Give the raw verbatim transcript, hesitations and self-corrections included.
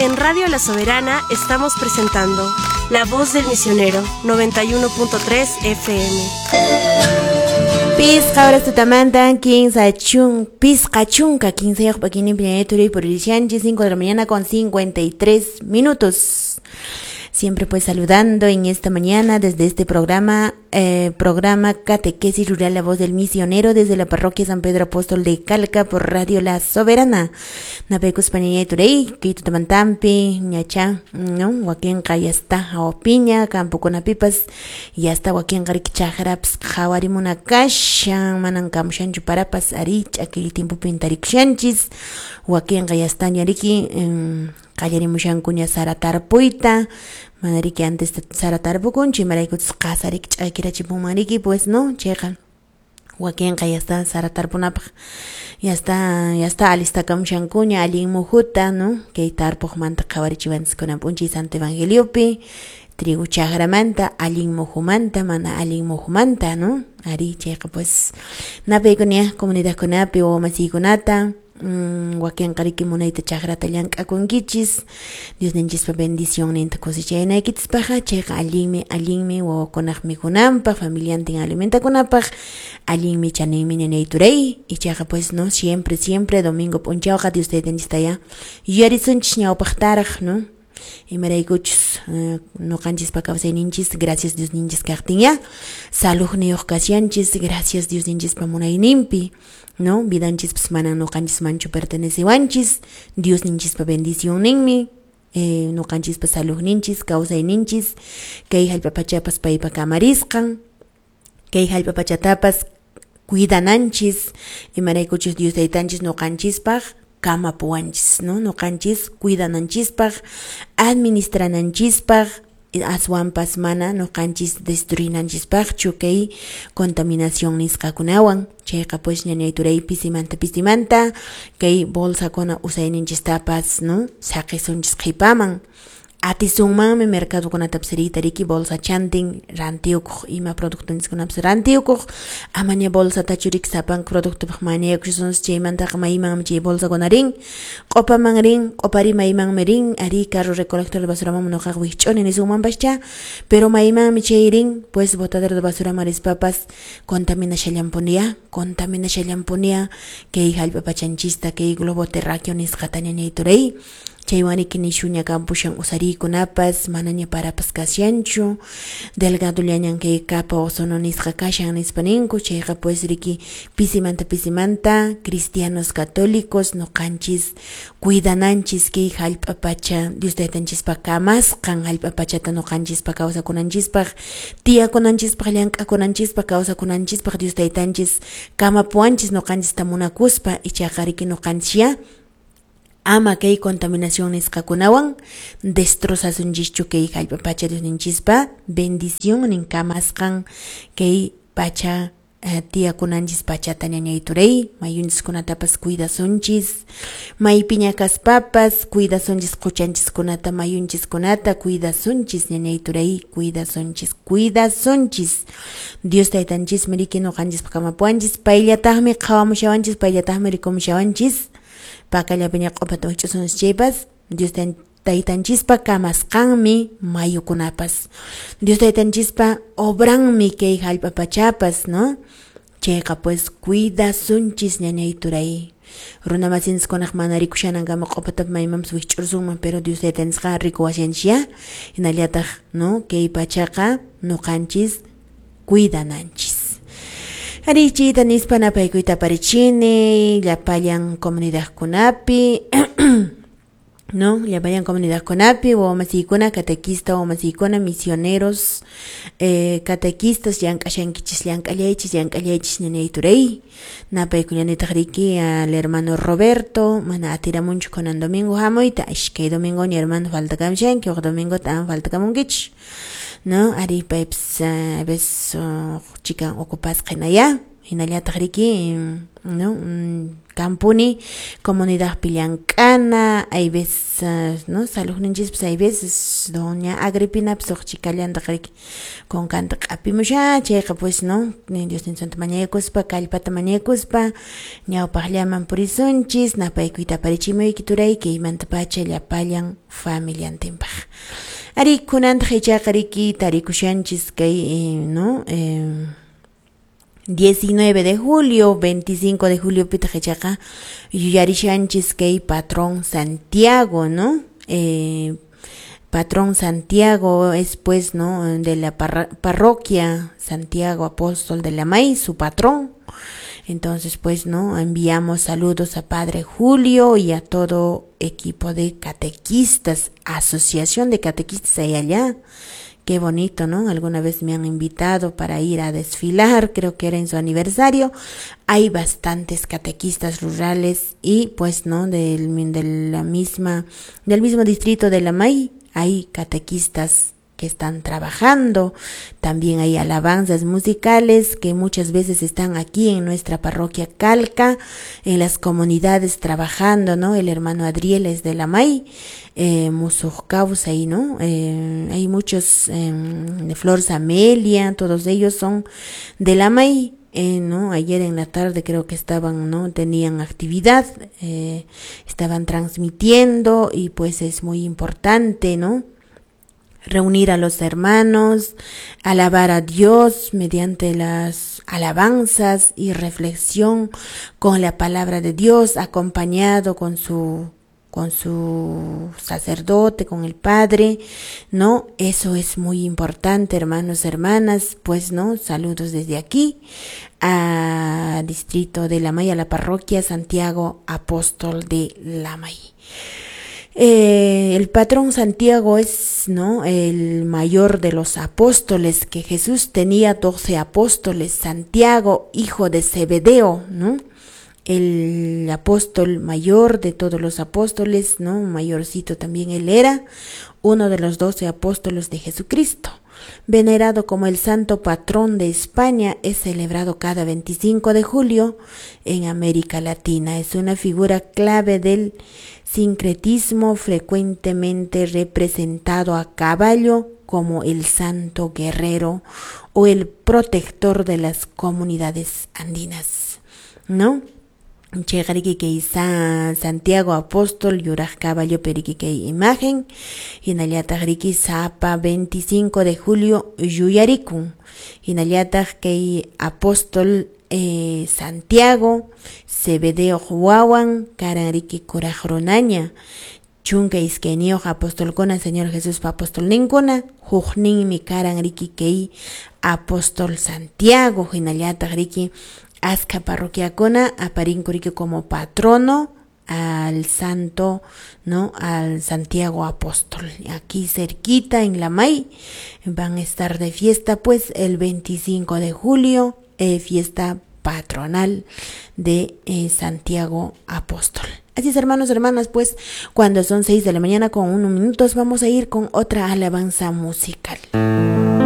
En Radio La Soberana estamos presentando La Voz del Misionero, noventa y uno punto tres F M. Pisqa horas tutamantan, quince chun, pisqa chunka, quince yoq p'akinin turi por cinco de la mañana con cincuenta y tres minutos. Siempre pues saludando en esta mañana desde este programa, eh, programa Catequesis Rural La Voz del Misionero desde la parroquia San Pedro Apóstol de Calca por Radio La Soberana. Napecus pañaya turey, kito tamantampi, ñacha, no, wakinqa ya está, hawapiña, campo con apipas, ya está wakinqa riki chajraps, jawarimuna kashan, manan kamushanchu parapas, ari, ch'akiri tiempo pintarikushanchis, wakinqa ya está ñariki, qallarimushankuña sara tarpuyta, manariki antes sara tarpukunchi, imaraykuchus qasariki ch'akirachipunmanriki, pues no, chayqa wakinqa ya está sara tarpunapaq, ya está, ya está alistakamushankuña allin mujuta, no, kay tarpuqmanta qhawarichiwanchis kunan p'unchay Santo Evangeliopi, trigo chajramanta, allin mujumanta, mana allin mujumanta, no, ari chayqa pues napaykuña comunidadkunapi wawamasiykunata, Mm, wakinqa riki munayta chajrata llank'akunkichis, Dios ninchispa bendición ninta cosechanaykichispaqqa, chayqa allinmi, allinmi wawakunaq mikhunanpaq, familiantin alimentakunapaq, allinmi chaninmi ñañay turay, ichaqa pues no, siempre, siempre domingo p'unchawqa Dios taytanchistaya yuyarisunchis ñawpaqtaraq, no, imaraykuchus uh, noqanchispa kawsayninchis, gracias Dios ninchis kaqtinya, saluqniyuq kashanchis, gracias Dios ninchispa munayninpi, no, vidanchispas mana noqanchismanchu pertenecewanchis, Dios ninchispa bendición ninmi, eh, noqanchispa saluqninchis, kawsayninchis, kay hallp'a pachapas paypa kamarisqan, kay hallp'a pachatapas cuidananchis, imaraykuchus Dios taytanchis noqanchispaq kamapuwanchis, no, noqanchis cuidananchispaq, administrananchispaq, aswanpas mana noqanchis destruinanchispaqchu kay contaminación nisqakunawan, chayqa pues ñañay turay pisimanta pisimanta kay bolsakuna usayninchistapas, no, saqisunchis qhipaman, atisunmanmi mercadokunatapas riyta riki bolsa chantin rantiyukuq, ima productonchiskunapas rantiyukuq, amaña bolsatachu riki sapanka productopaq mañayakushasunchis, chaymantaqa maymanmi chay bolsakuna rin, q'upaman rin, q'upari maymanmi rin, ari carro recolector de basuraman noqaqa wikch'uni nisunmanpascha, pero maymanmi chay rin, pues botadero de basuraman rispapas contaminashallanpunia, contaminashallanpunia kay hallp'a pachanchista, kay globo terráqueo nisqata ñañay turay, chaywaniki nishuña kampushan usariykunapas, manaña parapas kashanchu, delgadollañan kay capa ozono nisqa kashan nispa ninku, chayqa pues riki pisimanta pisimanta cristianos católicos noqanchis cuidananchis kay hallp'a pacha Dios taytanchispa kamasqan hallp'a pachata noqanchispa kawsakunanchispaq, tiyakunanchispaq, llank'akunanchispaq, kawsakunanchispaq Dios taytanchis kamapuwanchis noqanchista munakuspa, ichaqa riki noqanchis ama kay contaminación nisqakunawan destrozasunchishchu kay hallp'a pacha Dios ninchispa bendición nin kamasqan kay pacha eh, tiyakunanchis pachata ñañay turay, mayunchiskunatapas cuidasunchis, maypiña kaspapas cuidasunchis quchanchiskunata, mayunchiskunata cuidasunchis ñañay turay, cuidasunchis, cuidasunchis, Dios taytanchismi riki noqanchispa kamapuwanchis, payllataqmi qhawamushawanchis, payllataqmi rikumushawanchis, pakallapiña q'upata wikch'usunchis chaypas, Dios taytanchispa kamasqanmi mayukunapas, Dios taytanchispa obranmi kay hallp'a pachapas, no, chayqa pues cuidasunchis ñañay turay, runa masinchiskunaq mana rikushanankama q'upatapas maymanpas wikch'ursunman, pero Dios taytanchisqa rikuwashanchis ya, hinallataq, no, kay pachaqa noqanchis cuidananchis. Arichita nispa napaykuyta aparichini llapallan comunidadkunapi, no, llapallan comunidadkunapi, wawamasiykuna, catequista wawamasiykuna, misioneros, eh, catequistas, llank'ashankichis, llank'allaychis, llank'allaychis ñañay turay, napaykullanitaq riki al hermano Roberto, mana atiramunchu kunan domingo hamuyta, ishkay domingo ña hermano faltakamushanki, huk domingo t'an faltakamunkichis, no, ari paypas a veces chikan ocupasqa hinaya, Hinallataq riki, no, kampuni comunidadpi llank'ana, hay veces, no, saludninchispas hay veces doña Agripinapas huk chikallantaq riki kunkanta q'apimusha, chayqa pues, no, Diosninchikta mañakuspa, kallpata mañakuspa ñawpaqllaman purisunchis, napaykuyta aparichimuyki turay kaymantapacha llapallan familiantinpaq. Ari kunantaq ichaqa riki tarikushanchis kay, no, eh, diecinueve de julio, veinticinco de julio pitaq ichaqa yuyarishanchis kay patrón Santiago, ¿no? Eh, patrón Santiago es pues, ¿no?, de la parra parroquia Santiago Apóstol de Lamay, su patrón. Entonces, pues, ¿no?, enviamos saludos a Padre Julio y a todo equipo de catequistas, asociación de catequistas ahí allá. Qué bonito, ¿no? Alguna vez me han invitado para ir a desfilar, creo que era en su aniversario. Hay bastantes catequistas rurales y, pues, ¿no?, del, de la misma, del mismo distrito de Lamay hay catequistas que están trabajando. También hay alabanzas musicales que muchas veces están aquí en nuestra parroquia Calca, en las comunidades trabajando, ¿no? El hermano Adriel es de Lamay, eh, Musujcaus ahí, ¿no? Eh, hay muchos, eh, de Flor Amelia, todos ellos son de Lamay. Eh, ¿no? Ayer en la tarde creo que estaban, ¿no?, tenían actividad, eh, estaban transmitiendo y pues es muy importante, ¿no?, reunir a los hermanos, alabar a Dios mediante las alabanzas y reflexión con la palabra de Dios, acompañado con su con su sacerdote, con el padre, ¿no? Eso es muy importante, hermanos, hermanas, pues, ¿no? Saludos desde aquí a distrito de Lamay, a la parroquia Santiago Apóstol de Lamay. Eh, el patrón Santiago es, ¿no?, el mayor de los apóstoles, que Jesús tenía doce apóstoles. Santiago, hijo de Zebedeo, ¿no?, el apóstol mayor de todos los apóstoles, ¿no?, mayorcito también él era, uno de los doce apóstoles de Jesucristo. Venerado como el santo patrón de España, es celebrado cada veinticinco de julio en América Latina. Es una figura clave del sincretismo, frecuentemente representado a caballo como el santo guerrero o el protector de las comunidades andinas, ¿no? Chayqa kay Santiago Apóstol yuraq caballo periki kay imagen, hinallataq riki sapa veinticinco de julio yuyarikun, hinallataq kay apóstol eh, Santiago Zebedeo wawan karan riki kuraq runaña, chunka iskayniyuq apostolkuna Señor Jesuspa apostolninkuna, hukninmi karan riki kay apóstol Santiago, hinallataq riki aska parroquiakuna aparinku riki como patrono al santo, ¿no?, al Santiago Apóstol. Aquí cerquita en Lamay van a estar de fiesta pues el veinticinco de julio, eh, fiesta patronal de eh, Santiago Apóstol. Así es, hermanos, hermanas, pues cuando son seis de la mañana con uno minutos vamos a ir con otra alabanza musical.